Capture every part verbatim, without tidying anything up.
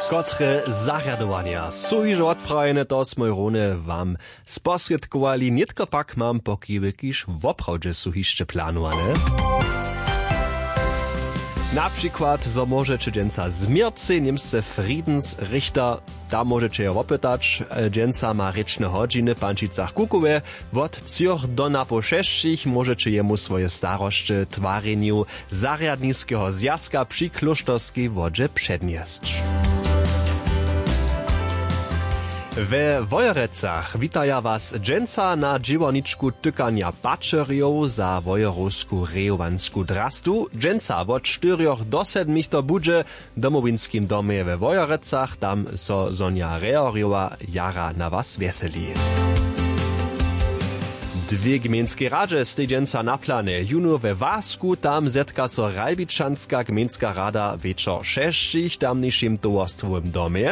Kotre zarjadowanja su hižo wotprawjene, to smój runje wam sposrědkowali. Nětko pak mam pokiwy, kiž woprawdźe su hišće planowane. Na přikład zo móžeće dźensa změrcej němsce Friedensrichter, tam móžeće jo wopytać. Dźensa ma rěčne hodźiny w Pančicach Kukowje. Wot třoch do napoł šesćich móžeće jemu swoje starosće w twarjenju zarjadniskeho zwjazka při klóšterskej wodźe přednjesć. We Wojerecach witaja was dźensa na dźěłarničku tykanja pačerjow za wojerowsku rejowansku drastu. Dźensa wot štyrjoch do sedmich to budźe w domowinskim domje we Wojerecach, tam so Sonja Reorjowa jara na was wjeseli. Dwě gmejnskej radźe stej dźensa na planje. Jónu we Wasku, tam zetka so Ralbičanska gmejnska rada wječor šesćich w tamnišim towarstwowym domje.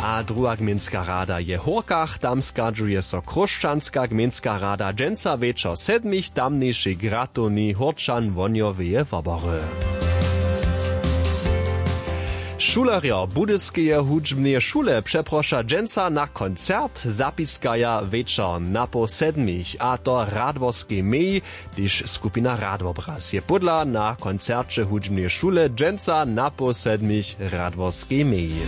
A druha gmejnska rada je w Hórkach, tam schadźuje so Chróšćanska gmejnska rada dźensa wječor sedmich w tamnišej gratowni Hórčan wohnjoweje wobory. Šulerjo Budyskeje hudźbneje šule přeproša dźensa na koncert, zapiskaja wječor napoł sedmich, a to w Radworskej meji. Tež skupina Radwobraz je pódla na koncerće hudźbneje šule dźensa napoł sedmich w Radworskej meji.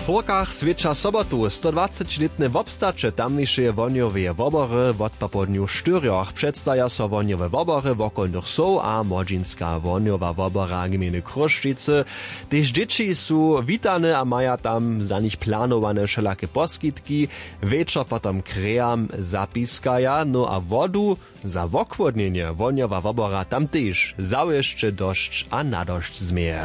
W Hórkach swjeća sobotu stodwacećilětne wobstaće tamnišeje wohnjoweje wobory. Wot popołdnju štyrjoch předstaja so wohnjowe wobory wokolnych wsow a młodźinska wohnjowa wobora gmejny Chrósćicy. Tež dźěći su witane a maja tam za nich planowane wšelake poskitki. Wječor potom k rejam zapiskaja, no a wodu za wochłodnjenje wohnjowa wobora tam tež zawěsće dosć a nadosć změje.